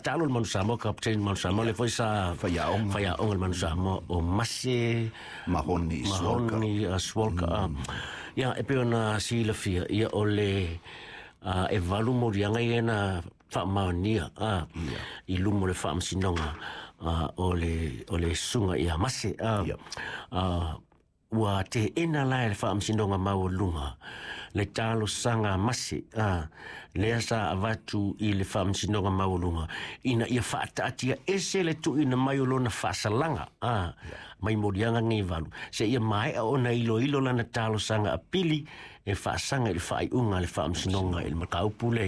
taalo le Manu Samoa, kapiteni Manu Samoa, le foi sa Faiaoga. Faiaoga le Manu Samoa o Mase Mahoni Swalka. Mahoni Swalka. Ia, e pei ona silafia, ia o le e valu moliaga ia na faamaonia i luma o le faamasinoga o le susuga ia Mase. Ua teena la e le faamasinoga maualuga le talosaga a Mase lea sa avatu i le faamasinoga maualuga ina ia faataatia ese le tuuina mai o lona faasalaga mai moliaga nei valu seia maea ona iloilo lana talosaga apili e faasaga i le faaiuga a le faamasinoga i le mataupu le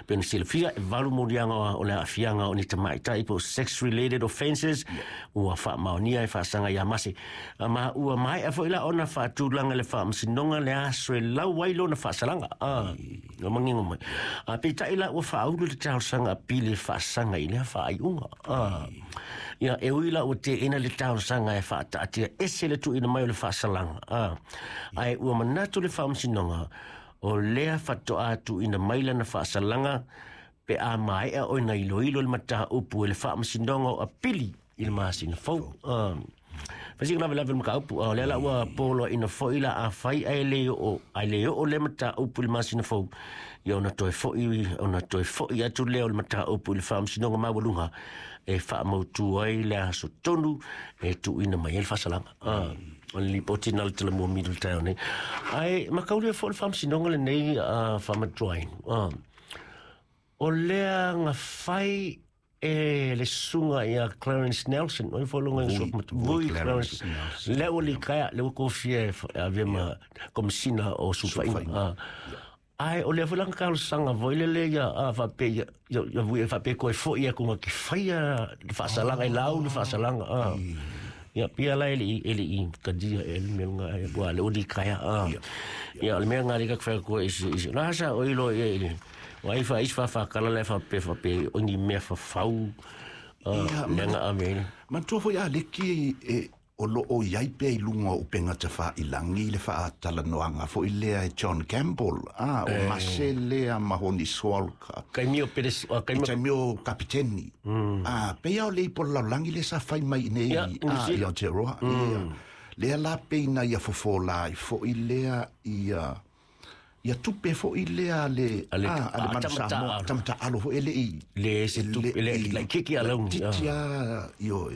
pe ona silafia e valu moliaga o le aafiaga o ni tamaitai po o sex related offences ua faamaonia e faasaga ia Mase. Ma ua maea foi la ona faatulaga le faamasinoga le aso e lau ai lona faasalaga o magigo mai. Peitai la ua faaulu le talosaga apili e faasaga i lea faaiuga. Ia, e ui la ua teena le talosaga e faataatia ese le tuuina mai o le faasalaga ae ua manatu le faamasinoga o lea faatoa tuuina mai lana faasalaga pe a maea ona iloilo le mataupu e le faamasinoga o apili i le masina fou. Fasika lave lave le mataupu o lea la ua poloaina foi la afai ae le oo ae le oo le mataupu i le masina fou, ia ona toe fo'i atu lea o le mataupu i le faamasinoga maualuga e faamautu ai le aso tonu e tuuina mai ai le faasalaga. O le lipoti na le talamua mili le taeao nei. Ae makaulia foi le faamasinoga lenei faamatuaina o lea na fai e le susuga ia Clarence Nelson o foi longa Vui- Vui Vui Clarence Clarence Nelson. Lea ua likaea lea ua kofia e avea ma komisina o sulufaiga. Ae o lea foi langa talosaga foi lele ia faape ia vui e faape koe fo'i atu nga ke faia le faasalaga e lau le faasalaga ia pia la e le i kadia e le mea nga e ua le ua likaea ia o le mea nga le ka whai koe isi la sa o ilo ia i wa i fa is fa fa kala le fa pe fa pe o ni mea fa fau Ia, le nga ame. Manatua foi a leki e o lo o iai pea i lunga o upenga tafailangi le faatalanoaga foi lea e John Campbell o Mase lea Mahoni Swalka. Kai mio peres kai I mio taimi o kapiteni. Peia o le ipo le lalolagi le sa fai mai nei Ia, New i Zealand. Aotearoa. Ia. Lea la peina ia fofo la i foi lea ia ia tupe foi lea le Ale- a le Manu tamata Samoa alo. tamata alo foi ele i Le se tupe le la kiki alauni. titi a io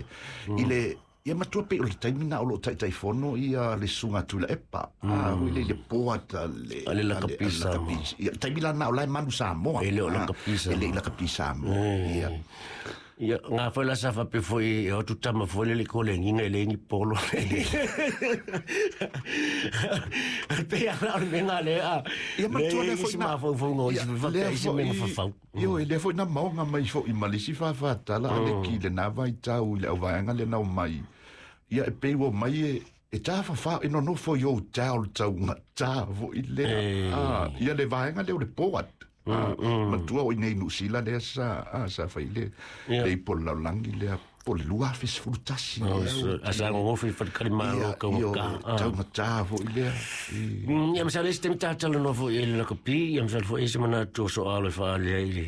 i le ia matua pe o le taimi na o lo taitaifono ia le suga Tuilaepa foi le i le poata le Ale lakapi Samoa. Ia taimi la na o la e Manu Samoa. E le o lakapi E le i Samoa. lakapi Samoa ia. Ia, ngā foi la sa fape foi e otu tama foi le kole nginga e le ngi polo. Pe ala o le menga le a. Ia matua le foi na fau fau ngo Ia, isi fa lea pe isi menga fa fau. Io e lea foi na maoga mai foi ma le isi faafatala a le ki le na vaitau i le auvaega le nao mai. Ia e pei ua mai e tafafao e nonofo i ou tao le taugatā foi lea. Ia le vaega lea o le poat. Matua o i nei Nusila lea sa sa fai le Ia. le ipo le lalolagi lea po le 2011 lea. A sa ngofi fa kali malo ka Ia, ka. Taugatā foi lea. Ia masale se temi tātala no foi e le lakapi, ia masale foi e se mana tō so alo e whaale i le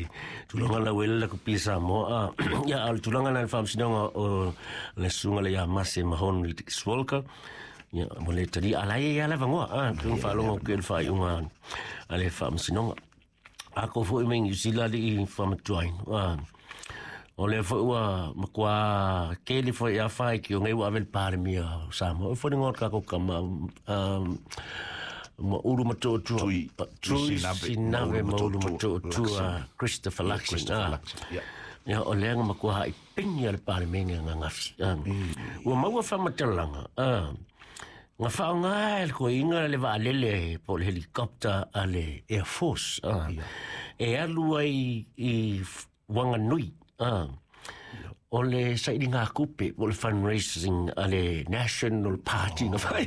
tulaga la wele lakapi Samoa. Ia a le tulaga na le whaamsinoga o le sunga le ia Mase Mahonu i Swalka. Ia mo le tali ala e ia lava ngoa, tunga whaalongo ke le whaaiunga a le whaamsinoga. A ko foi mai New Zealand i whamatuain. O le foi ua makua keli foi a whai ki o ngai ua awel pare mia o Samoa. O foi ngō kako kama ma uru matotua. Tui Tui Sinave, Sinave ma ma uru uru matotua, matotua Christopher Luxon. Christopher Luxon, ia. Ia o lea nga makua hai pingi a le pare menga nga ngafi. Ua maua whamatalanga. Nga whaonga e le koinga le vaalele po le helicopter a le Air Force. E alu ai i Wanganui. O le saili ngā kupe o le fundraising a le National Party nga whai.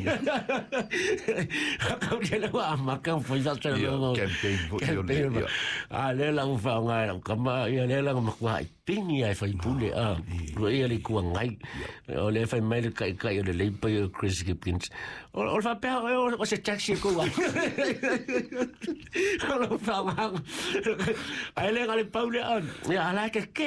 Kau le ua amaka foi sa tala Ia, longo. Campaign foi o le- Campaign. Ia. A le la whaonga e lau kama, ia le la makua i pingi ai whai pule. Ua ia le kua ngai. O le whai mai le kai kai o le leipa o Chris Gibkins. O le whapea o se taxi e kua. O le whaonga. Ai le ngā le paule. Ia ala ke ke.